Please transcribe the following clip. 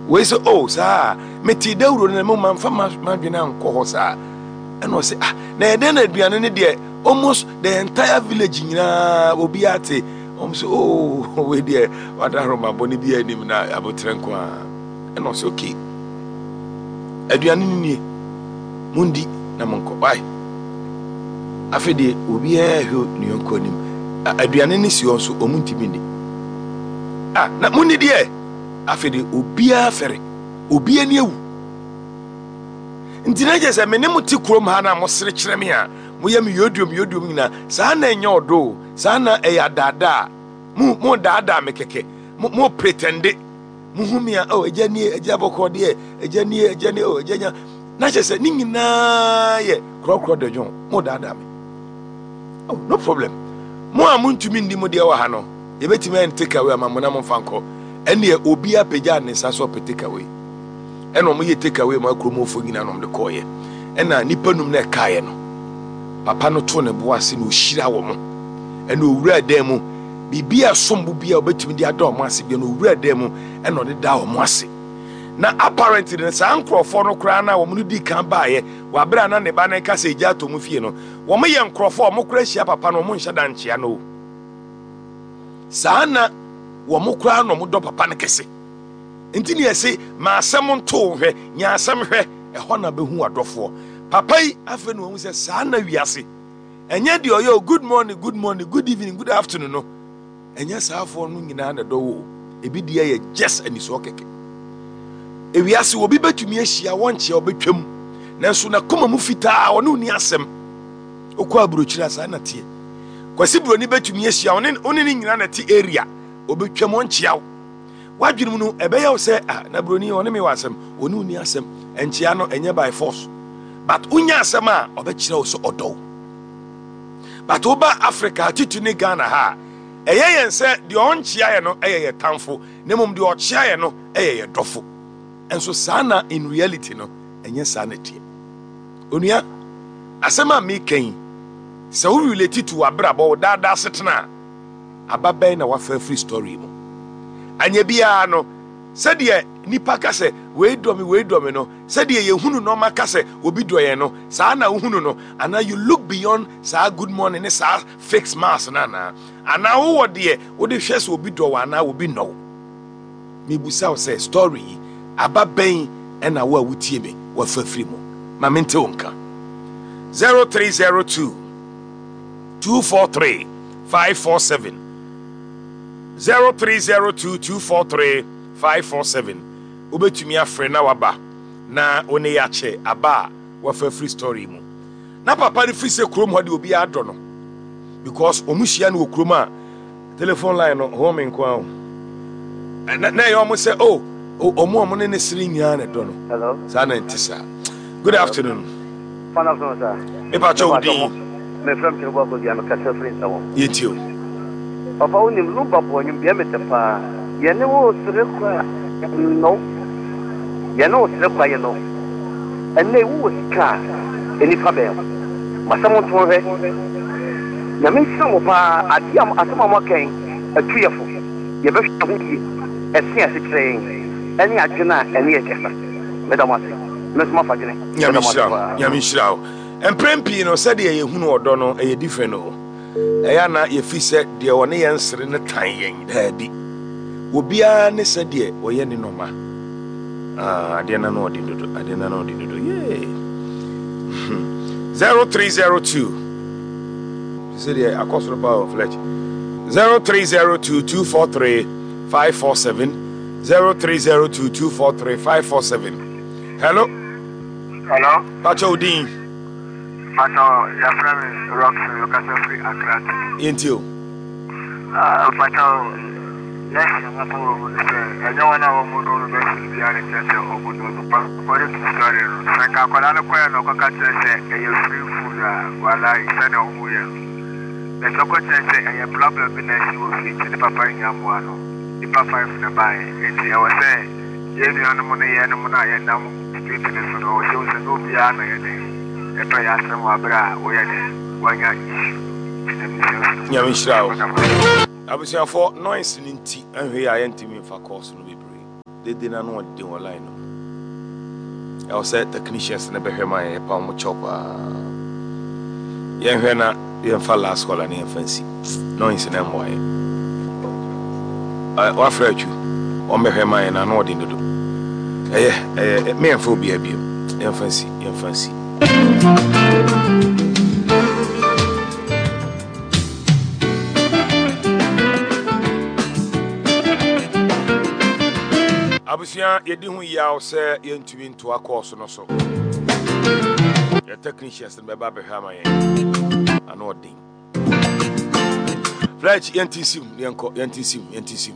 Wei sɛ, oh, saa, metee dawuro no na mmom mamfa m'adwene ankɔ hɔ saa. Ɛna ɔse, ah, na ɛyɛ dɛn na aduane no deɛ almost the entire village nyinaa obiara te. Wɔn sɛ, oh, wei deɛ wadahoro bɔne biara anim na aboterɛ nko ara. Ɛna ɔse, okay, aduane no nie, mondi na monkɔ. Why? Afei deɛ obiara hwɛ ne yɔnko anim. Aduane no si hɔ nso, wɔn ntumi nni. Ah, na monni deɛ. Afei deɛ obiara fɛre, obiara ani awu. Nti na kyerɛ sɛ me ne mo te kurom ha na mosere kyerɛ me a, moyɛ me yodiom yodiom nyinaa, saa na ɛnyɛ ɔdɔ o, saa na ɛyɛ adaadaa. Mo mo daadaa me kɛkɛ, mo mo pretende. Mo hu me a, oh agya nie, agya bɔkɔ deɛ, agya nie, agya nie, oh agya nya. Na kyerɛ sɛ ne nyinaa yɛ korɔkorɔ dɔdwon, mo daadaa me. Oh, no problem. Mo a montumi nni mo deɛ wɔ ha no, yɛbɛtumi ayɛ no take away ama mo na momfa nkɔ. Ɛnneɛ obiara pagyaa ne nsa sɛ ɔpɛ take away. Ɛna wɔn yɛ take away ma kuromfoɔ nyinaa na wɔn de kɔɔeɛ. Ɛna nnipa num na ɛkaeɛ no, papa no too ne bo ase na ɔhyira wɔn. Ɛna owura dan mu, biribi a ɛsom bo bi a ɔbɛtumi de ada wɔn ase bi na owura dan mu ɛna ɔde da wɔn ase. Na apparently no saa nkurɔfoɔ no koraa na wɔn no di kan baeɛ wɔ abere a na ne ba no reka sɛ egya atɔ mu fie no, wɔn yɛ nkurɔfoɔ a wɔn koraa hyia papa no wɔn nhyɛ da nkyea no o. Saa na wɔn koraa na wɔn dɔ papa no kɛse. Nti ne yɛse ma asɛm nto wo hwɛ, nya asɛm hwɛ, ɛhɔ na bɛhu w'adɔfoɔ. Papa yi afei na wahu sɛ saa na wiase. Ɛnyɛ deɛ ɔyɛ o good morning, good morning, good evening, good afternoon no. Ɛnyɛ saafoɔ no nyinaa na ɛdɔ wo o. Ebi deɛ yɛ just anisoɔ kɛkɛ. Ewiase obi bɛtumi ahyia wɔnkyea ɔbɛtwam nanso n'akoma mu fitaa ɔne wo ni asɛm. Wokɔ aburokyiri a saa na teɛ. Kwasi Buroni bɛtumi ahyia wo ne wo ne ne nyinaa na ɛte area ɔbɛtwam ɔnkyea wo. W'adwene mu no ɛbɛyɛ wo sɛ ah na Buroni ɔne me wɔ asɛm, ɔne wo ni asɛm. Nkyea no ɛnyɛ by force but wonya asɛm a ɔbɛkyerɛ wo sɛ ɔdɔ wo. But woba Africa titiri ne Ghana ha a ɛyɛ yɛn sɛ deɛ ɔnkyea yɛ no ɛyɛ yɛ tamfo na mmom deɛ ɔkyea yɛ no ɛyɛ yɛ dɔfo. Nso saa na in reality no ɛnyɛ saa na ɛteɛ. Onua, asɛm a meka yi, sɛ wo relate to w'abrabɔ, wo daa daa asetena a, aba bɛn na wafa afiri story mu? Anyɛ biara no, sɛdeɛ nipa ka sɛ wei dɔ me, wei dɔ me no, sɛdeɛ yɛhunu nɔɔma ka sɛ obi dɔ yɛn no, saa na wohunu no? Anaa you look beyond saa good morning ne saa fake smiles no anaa? Anaa wowɔ deɛ wode hwɛ sɛ obi dɔ wo anaa obi nnɔ wo? Mebisa wo sɛ story yi, aba bɛn na wo a wotie me wafa firi mu? Ma mente wo nka. 0302 243 547 0302 243 547 Wobɛtumi afrɛ na waba na wo ne yɛakyɛ aba a wafa firi story mu. Na papa no firi sɛ kurom hɔ de obiara dɔ no because wɔn hyia no wɔ kurom a telephone line no home nko ara o. Na na ɛyɛ wɔn sɛ oh wɔn a wɔn ne ne sere nyinaa na ɛdɔ no. Hello. Saa na ɛnte saa. Good afternoon. Fine afternoon, sir. Mepa kyɛ wo din. Me frɛ me Tinubu Akosua, me kasa firi Nsawam. Yɛntie o. Papa wo nim Lumba bɔ nnwom deɛ me te paa. Yɛne wo sere kwa yɛnnɔ wo. Yɛne wo sere kwa yɛnnɔ wo. Ɛnnɛ yi wowɔ sika a nnipa bɛn wo. Masɛm nto nhwɛ. Nyame nhyira mo paa adeɛ a asɛm a moaka yi atu yɛ fo. Yɛbɛhwɛ ho yie ɛse a ɛse kyerɛ yɛn ɛne adwene a ɛne yɛ kasa. Meda mo ase. Me nso mafa adwene. Nyame Meda mo ase nhyira wo. paa. Nyame nhyira wo. Mprɛn pii no sɛdeɛ yɛhunu ɔdɔ no ɛyɛ different o. Ɛyɛ a na yɛfiri sɛ deɛ ɔne yɛn sere no tan yɛn. Daabi. Obiara ne sɛdeɛ ɔyɛ ne nɔma. Ah, adeɛ no ano ɔden dodo. Adeɛ no ano ɔden dodo. Yee. 0302. Sɛ deɛ akɔ soro paa o, Fletch. 0302 243 547. 0302 243 547. Hello. Hello. Pacho odin. Pacho, yɛfrɛ me Rockson, mekasa firi Accra City. Yɛntie o. Ah, Pacho, lesson a mapa wɔ mu ne sɛ, ɛnyɛ wɔn a wɔn no no bɛsene biara na ɛkyerɛ sɛ wɔn no nipa. According to story no, sɛ nka akwadaa no kɔɛ na ɔkɔka kyerɛ sɛ ɛyɛ free food a, walai, sɛnea wɔn yɛ no. Na sɛ ɔkɔkyerɛ sɛ ɛyɛ problem bi na asi wɔ fie nti ne papa nhia mmoa no, nipa five na ɛbaeɛ. Enti ɛwɔ sɛ yɛn nuanom ne yɛnom no a yɛnam street no so no, ɛwɔ sɛ yɛhu sɛ nyɛ obiara na ɛyɛ dɛn. Ɛtɔ yɛ asɛm wɔ aber a woyɛ dɛn woanya issue ntsi Nyame nhyira wo firi mu Nyame nhyira wo. Meda mo ase. Abusuafoɔ noise no nti anhwɛ yie a yɛntumi mfa calls no bebree. Dede no ano ɔden wɔ line no mu. Ɛwɔ sɛ technicians no bɛhwɛ ma yɛn pa wɔn kyɛw paa. Yɛnhwɛ na yɛmfa last caller na yɛmfa nsi. Noise na mmoa yɛn. Wafrɛ atwu. Wɔn bɛhwɛ ma yɛn na ano ɔden dodo. Ɛyɛ ɛyɛ me yɛmfa obiara biom. Yɛmfa nsi yɛmfa nsi. Abusua, yɛdi ho yaw sɛ yɛntumi ntoa kɔɔso no so. Yɛ technicians no bɛba abɛhwɛ ama yɛn. Ano ɔden. Fletch, yɛnti nsim, yɛnkɔ, yɛnti nsim, yɛnti nsim.